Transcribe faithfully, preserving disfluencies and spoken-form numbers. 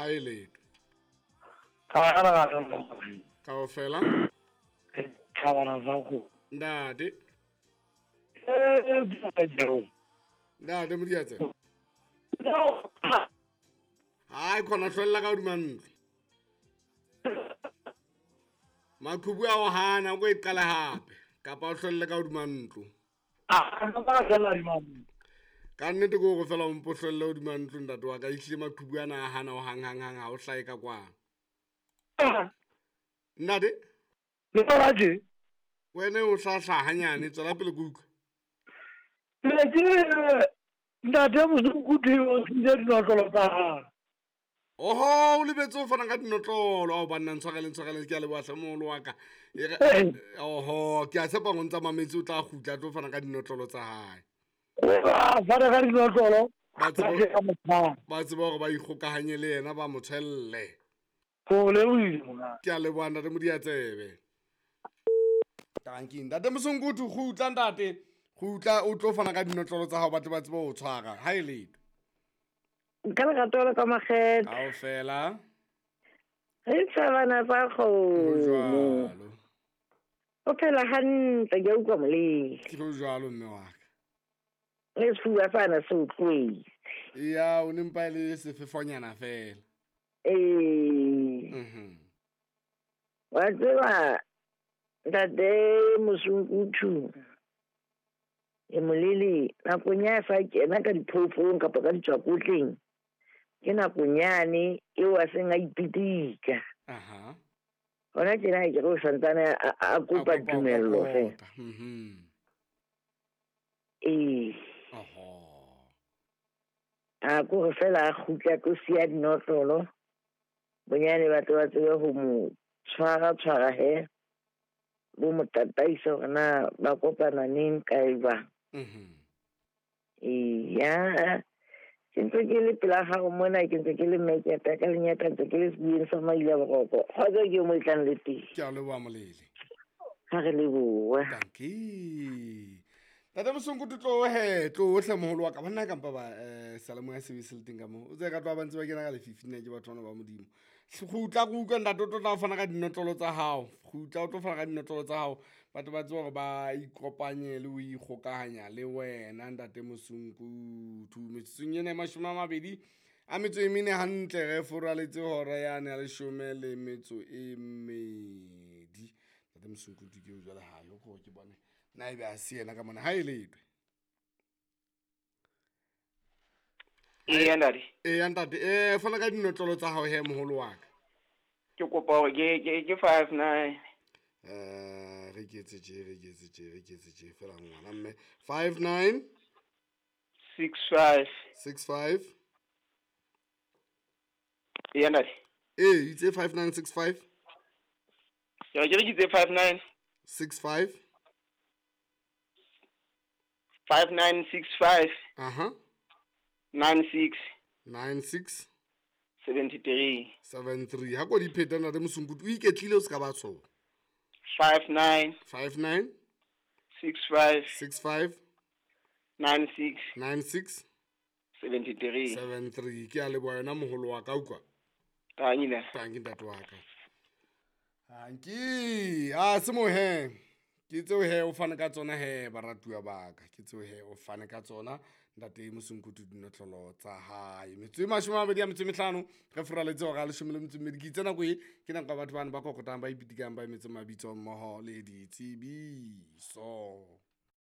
Ha e letho. Ka ra ra kaofela. Thabana sa go. Ntate. Eh eh Ntate Modiatse. Hai khona hlwella ka hodima ntlo. Maqhubu a o hana o ko e qala hape kapa o hlwelle ka hodima ntlo. Ah no ba hlwella hodima ntlo. Ka nnete ke hore fela o mpo hlwelle hodima ntlo ntate wa ka, ehlile maqhubu ana a hana o hang hang hang ha o hlahe ka kwano. Ntate? Le tsona tje? Wena o hlahla hanyane, tswela pele ke utlwe. Ne ke ntate Mosunkutu o tlile dinotlolo tsa hae. Oho, o lebetse ho fana ka dinotlolo. Ao banna, ntshwareleng, ntshwareleng, ke a leboha hle moholo wa ka. Oho, ke a tshepa hore o ntsa mametse, o tla kgutla a tlo fana ka dinotlolo tsa hae. Ba fana ka dinotlolo, Ba tseba ba tseba hore ba ikgokahanye le yena, ba mo tshwelle. Ho lebohile monga. Ke a leboha ntate Modiatsebe. Tanki ntate Mosunkutu, kgutla ntate. Kgutla o tlo fana ka dinotlolo tsa hao, ba tle ba tsebe ho tshwara. Ha e letho. Ka lerato la ka makgethe. Kaofela. Re tshabana tsa kgomo. Jwalo. O phela hantle, ke a utlwa molemo. Ke jwalo mme wa ka. Le sefuba sana se utlwetse. Ya, o ne mpa e le sefefonyana fela. Ee. Mhm. Wa tseba ntate Mosunkutu e molele nakong ya sa kena ka diphoofolong kapa ka ditswakotleng, ke nakong yane eo a seng a ipitika. Aha. Hona tjena ke re o santsane a, a kopa A kopa tumello ho feela. kokota. Mhm. Ee. Oho. A ko re fela a kgutla tlo siya dinotlolo, bonyane ba tle ba tsebe ho mo tshwara tshwara he, bo mo tataisa hore na ba kopana neng kae jwang. Mhm. Eya, ke ntse ke le pela gago mona, ke ntse ke le mmeketa ka lenyata, ntse ke le sebueng sa maile a boroko. Kgotso ke mo e tlang le teng. Ke a leboha molele. Ha re leboha. Dankie. Ntate Mosunkutu, tlo he, tlo hle moholo wa ka. Banna kampa ba eh seyalemoya se be se le teng ka moo. O tsebe ka tloha ba ntse ba kena ka lefifi nna ke batho bana ba Modimo. Kgutla ke utlwe ntate, o tlo tla fana ka dinotlolo tsa hao. Kgutla o tlo fana ka dinotlolo tsa hao. Batho ba tsebe hore ba ikopanye le ho ikgokahanya le wena ntate Mosunkutu. Metsotsong ena e mashome a mabedi a metso e mene hantle re foraletse hora yane ya leshome le metso e mmedi. Ntate Mosunkutu ke o jwale ha yo ko ke bone na ebe a se yena ka mona. Ha e letwe. Eya ntate. Eya ntate, eh fana ka dinotlolo tsa hao he moholo wa ka. Ke kopa hore ke ke ke five nine. Eh re ke etse tje, re ke etse tje, re ke etse tje fela ngwana mme. five nine six five six five. Eya ntate. Eh, itse five nine six five. Ke re ke re ke itse five nine six five. five nine six five. Aha. nine six nine six seventy three. seven three. Ha ko di pheta ntate Mosunkutu, o iketlile o ska ba tshoha. five nine five nine six five six five nine six nine six seventy three. seven three. Ke a leboha yona moholo wa ka, utlwa. Tanki. Tanki ntate wa ka. Tanki. Ah, se mo he. Ke tseo he o fane ka tsona he baratuwa ba ka. Ke tseo he o fane ka tsona ntate Mosunkutu dinotlolo tsa hae. Metso e mashome a mabedi a metso e mehlano re foraletse hora ya leshome le metso e mmedi. Ke itse nako e ke nako ya batho bana ba kokotang ba ipitikang ba emetse mabitso mmoho le ditsebiso.